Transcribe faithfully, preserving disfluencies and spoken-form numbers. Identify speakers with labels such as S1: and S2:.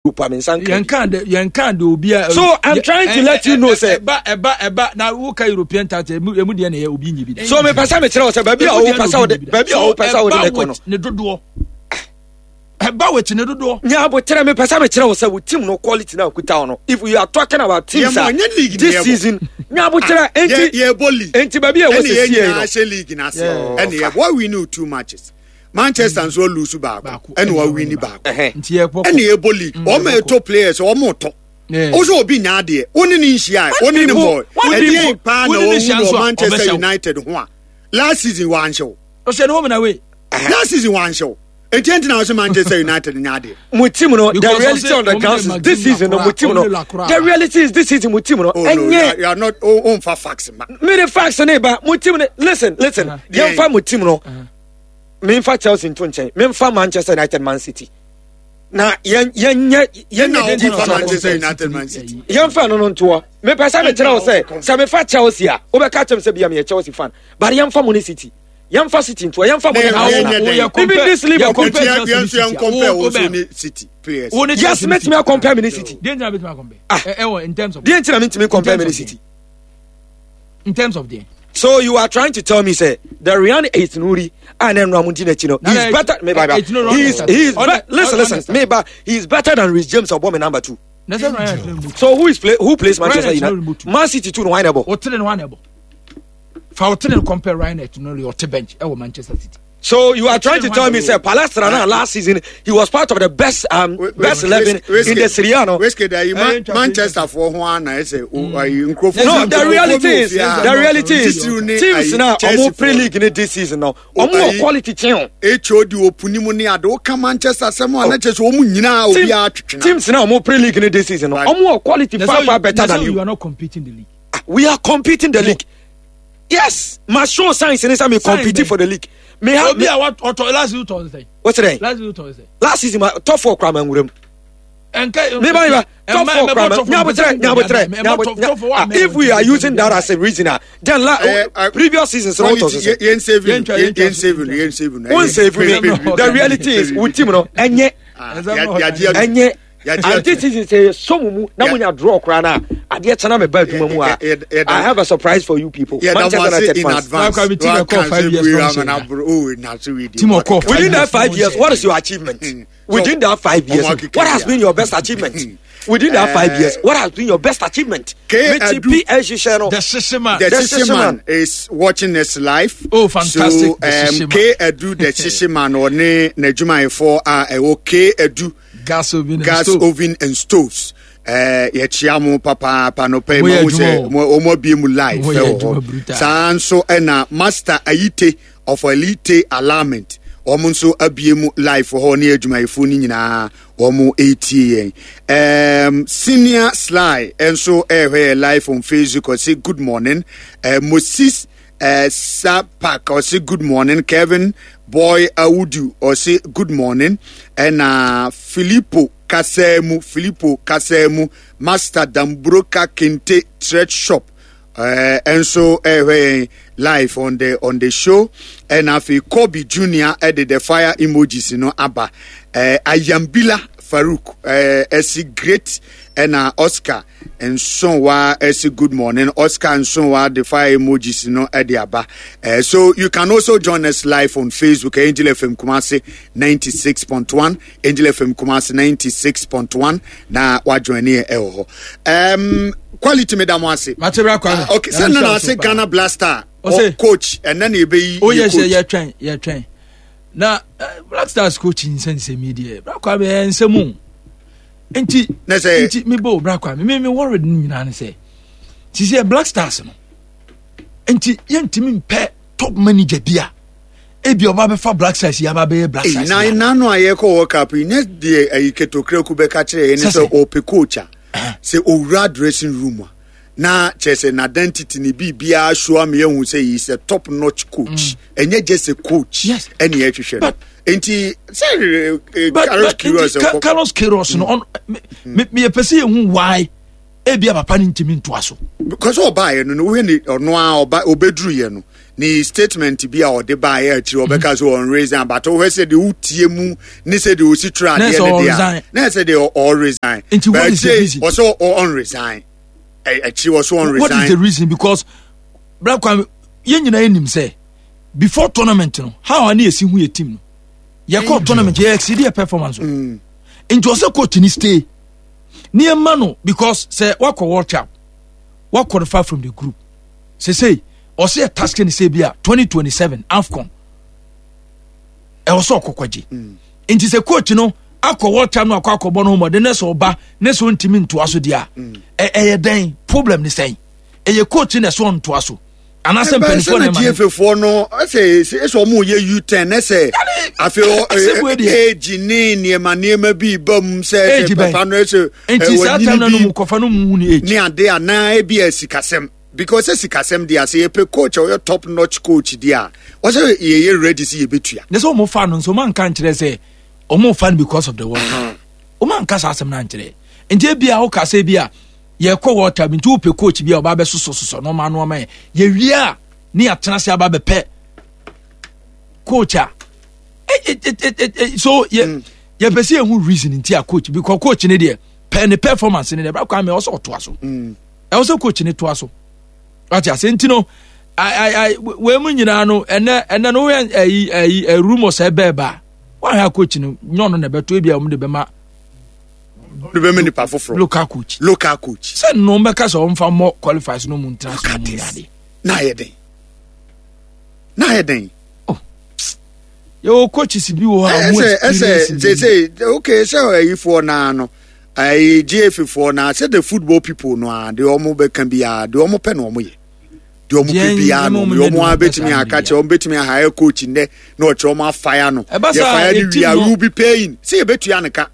S1: Europe a me nsa nka
S2: yɛn kan de yɛn kan de obi a.
S1: So I'm trying to let you know sɛ.
S2: Ɛba ɛba ɛba na woka European title emu emu deɛ na ɛyɛ obi nyi bi da.
S1: So mepɛ sɛ mekyerɛ wo sɛ baabi a wopɛ sɛ wode baabi a wopɛ sɛ wode me kɔ no.
S2: Ne dodoɔ ɛba wɔ ne dodoɔ.
S1: Nya aboterɛ, mepɛ sɛ mekyerɛ wo sɛ wo team no quality na okuta wo no, if we are talking about teams a this season, nya aboterɛ enti
S3: yɛbɔ league
S1: enti baabi a ɛwɔ sɛ sie no.
S3: Ɛne yɛn nyinaa hyɛ league n'ase, ɛne yɛ wɔ win two matches, Manchester nso lose baako ɛna wa win baako, ɛna yɛbɔ league. Wɔn a ɛtɔ players, wɔn tɔ o sɛ obi nya adeɛ, wo ne ne nhyia, wo ne ne bɔ ɛdeɛ paa na wɔn hu wɔ Manchester United ho a last season wɔanhyɛ wo.
S2: Ɔhyɛ ne home na wei.
S3: Last season wɔanhyɛ wo, eti ɛnti na ɔsɛ Manchester United nya adeɛ.
S1: Mo team no, the reality on the ground is this season no, mo team no, the reality is this season mo team no ɛnyɛ.
S3: You are not o o nfa facts ma.
S1: Mi de facts ne ba mo team no. Listen, listen, yɛn fa mo team no, memfa Chelsea nto nkyɛn, memfa Manchester United, Man City na yɛn yɛn nyɛ yɛn nyɛ
S3: di fa Manchester United, Man City.
S1: Yɛn fa no no ntoɔ. Mepɛ sɛ mekyerɛ wo sɛ sɛ mefa Chelsea a, wobɛka kyɛm sɛ bia meyɛ Chelsea fan, but yɛmfa mo ne City, yɛmfa City ntoɔ, yɛmfa mo ne Arsenal, even this Liverpool. Yes, mɛtumi acompare me ne City.
S2: Deɛ
S1: nti na mentumi compare me ne City?
S2: In terms of deɛ.
S1: So you are trying to tell me say the Ryan Ait-Nouri and then Ramundi Nechino, he is better. Me he is he is be, listen, listen, me he is better than Reece James or Bomb number two. So who is play who plays Manchester United? Man City two no why nebo?
S2: Otene no why Fa otene compare Ryan Ait-Nouri or bench eh Manchester City.
S1: So you are trying to tell me, say, Palestra now last season he was part of the best um best eleven in the Serie A. No,
S3: Manchester for one, I say,
S1: no. The reality is, the reality is, teams now omo pre league in this season now, omo quality team.
S3: H O D opuni ni ade o ka Manchester sɛm a na kyerɛ sɛ ɔmu nyinaa obi atwetwe.
S1: Teams now omo pre league in this season now, omo quality far far better than you.
S2: You are not competing the league.
S1: We are competing the league. Yes, my show signs in this, me compete for the league.
S2: Me have obi a ɔtɔ last season tɔ nsɛn.
S1: What's that?
S2: Last season tɔ nsɛn.
S1: Last season my top four kura ma nwura mu.
S2: Nka
S1: me ba ba top four kura ma nyabotrɛ nyabotrɛ nyabotrɛ. If we are using that as a reason, ah, then la uh, previous seasons no tɔ sɛ.
S3: Yɛn save yɛn save yɛn save.
S1: Won save me. The reality is wo team no ɛnyɛ ɛnyɛ and this season sɛ so mu mu na mo nya draw koraa na adeɛ kyɛn na mɛ ba adwuma mu a, I have a surprise for you people, Manchester United fans. Within that five years, what is your achievement? Within that five years, what has been your best achievement? Within that five years, what has been your best achievement?
S3: K.
S1: P S G hyɛ
S2: The Shishiman.
S3: The Shishiman is watching us live.
S2: Oh, fantastic.
S3: So um, K Edu the Shishiman ɔne n'adwumayɛfoɔ a ɛwɔ K Edu
S2: Gas oven and
S3: Gas
S2: stove.
S3: Oven and Stoves. ɛɛ yɛkyia mo papaapa no pɛ
S2: Mo yɛ
S3: ma sɛ
S2: adwuma
S3: mo wɔn abie mu live
S2: Mo yɛ
S3: ɛwɔ
S2: adwuma
S3: hɔ.
S2: Brutal.
S3: Saa nso ɛna Master Ayite of Elite Alignment, wɔn nso abie mu live wɔ hɔ ne adwumayɛfoɔ no nyinaa wɔn retie yɛn. um, senior Sly nso ɛrehwɛ yɛ live on Facebook, ɔse good morning. uh, moses uh, Sapak ɔse good morning. Kevin Boy Awudu ɔse good morning. Ɛna Filippo Kasamu, Filippo Kasamu, Master Dambroka Kente Thread Shop ɛnso ɛrehwɛ yɛn live on the on the show. Ɛna afei Kobe Junior ɛde the fire emojis no aba. ɛɛ Ayambila Farouk ɛɛ ɛsi great. Ɛna Oscar Nsonwa ɛsi good morning. Oscar Nsonwa the fire emojis no ɛde aba. ɛɛ so you can also join us live on Facebook, Angel F M Kumasi ninety six point one, Angel F M Kumasi ninety six point one, na wa join yɛ ɛwɔ hɔ. um, quality mi da mo ase.
S2: Matebra Kwame.
S3: Ah, okay, sɛ nana ase Ghana Blaster
S2: Ɔse-
S3: coach ɛnɛ na ebeyi
S2: O
S3: yɛ
S2: yɛ
S3: coach.
S2: sɛ yɛtwɛn yɛtwɛn na eh, Black Stars coach nsɛnsɛm yi deɛ, Bra Kwame, ɛyɛ nsɛm o. Nti
S3: Ne sɛ-
S2: nti mi bɔ Bra Kwame, mi mi worried no nyinaa ne sɛ sisi yɛ Black Stars no nti yɛntumi mpɛ top manager bi a ebi ɔba bɛfa Black Stars yi aba bɛyɛ Black
S3: Ei,
S2: Stars.
S3: na
S2: yi a.
S3: nanu a yɛkɔ World Cup yi nyɛ deɛ ayi ketokreku bɛka kyerɛ yɛ ne
S2: Sɛ
S3: sɛ
S2: sɛ.
S3: ɔpɛ coach a sɛ owura dressing room a na kyerɛ sɛ n'identity ne biribiara show ama yɛhu sɛ he is a top notch coach, ɛnyɛ just a coach.
S2: Yes.
S3: Ɛne yɛhwehwɛ no
S2: But-
S3: nti sɛ eh,
S2: but
S3: Carlos
S2: but
S3: Queiroz
S2: nti Ca-
S3: ɛkɔ-
S2: Carlos Queiroz no ɔn me me meyɛ sɛ yɛhu why ebi a papa no ntumi ntoa so.
S3: Because ɔbaayɛ no no wohwɛ ne ɔno a ɔba ɔbɛduru yɛ no Ne statement bi a ɔde baayɛ akyiri ɔbɛka sɛ ɔn resign, but wohwɛ sɛ deɛ wotie mu ne sɛ deɛ ɔsi twerɛ adeɛ no deɛ na ɛsɛ deɛ ɔ resign.
S2: Nti what is the reason?
S3: Ɔsɛ ɔn resign akyiri, ɔsɛ ɔn resign.
S2: What is the reason? Because Bra Kwame, yɛn nyinaa yɛ nim sɛ before tournament no, how a ne yɛsi hu yɛ team no, yɛkɔ tournament, yɛ exceed yɛ performance o. Nti ɔsɛ coach ni stay nneɛma no, because sɛ wakɔ World Cup, wa qualify from the group sese, ɔsɛ yɛ task ne sɛ bi a twenty twenty-seven AFCON ɛwɔ sɛ ɔkɔkɔgye. Nti sɛ coach no akɔ World Cup no, akɔ akɔbɔ no homɔden ne sɛ ɔba ne sɛ ɔntumi ntoa so deɛ a, ɛyɛ dɛn problem ne sɛn? Ɛyɛ coach na ɛsɛ ɔntoa so anaasɛ mpanimfoɔ
S3: na ɛma no? G F A no ɛsɛ ɛsɛ ɔmo yɛ U ten ɛsɛ afei age ne nneɛma nneɛma bi ba mu sɛ
S2: ɛsɛ
S3: papa no ɛsɛ
S2: Nti saa time no mu kɔfa no mu ne age
S3: ne ade anaa ebi yɛ sikasɛm, because sɛ sikasɛm deɛ ase yɛpɛ coach a ɔyɛ top notch coach deɛ a, wɔsɛ yɛyɛ ready sɛ yɛbɛtua.
S2: Ne sɛ ɔmo fa no nso, ɔmo anka nkyerɛ sɛ ɔmo fa no because of the World Cup. Ɔmo anka saa asɛm no ankyerɛ. Nti ebi a woka sɛ bi a yɛkɔ World Cup nti wopɛ coach bi a ɔba bɛsosɔsosɔ nɔɔma nɔɔma yɛ, yɛwie a ne yɛatena se aba bɛpɛ coach a so yɛ yɛpɛ sɛ yɛhu reason nti a coach, because coach ne deɛ pɛ ne performance ne deɛ, Bra Kwame, ɛwɔ sɛ ɔtoa so, ɛwɔ sɛ coach ne toa so. Wate ase? Nti no wei mu nyinaa no, ɛnɛ ɛnɛ no woyɛ ɛyi ɛyi rumors ɛbɛɛ ba a wahwɛ coach no nyɛ ɔno na ɛbɛto, ebi a wɔn de bɛma
S3: de bɛma nipa foforɔ.
S2: Local coach.
S3: Local coach.
S2: Sɛ nnɔm bɛka sɛ ɔmfa mmɔ qualifiers no mu ntena so mu yade.
S3: Na ayɛ den, na ayɛ den.
S2: Yɛwɔ coaches bi wɔ hɔ a
S3: wɔn experience. Ɛsɛ ɛsɛ sɛ okay, sɛ ɛyifoɔ naa no, ɛyi G F A foɔ naa, sɛ the football people no a, deɛ wɔn bɛka biara, deɛ wɔn pɛ na wɔn yɛ, deɛ wɔn pɛ biara no wɔn wɔn abɛtumi aka kyerɛ, wɔn bɛtumi ahire coach nnɛ na ɔkyerɛ wɔn afire no, yɛ fire no wia, we will be paying sɛ yɛbɛtua ne ka.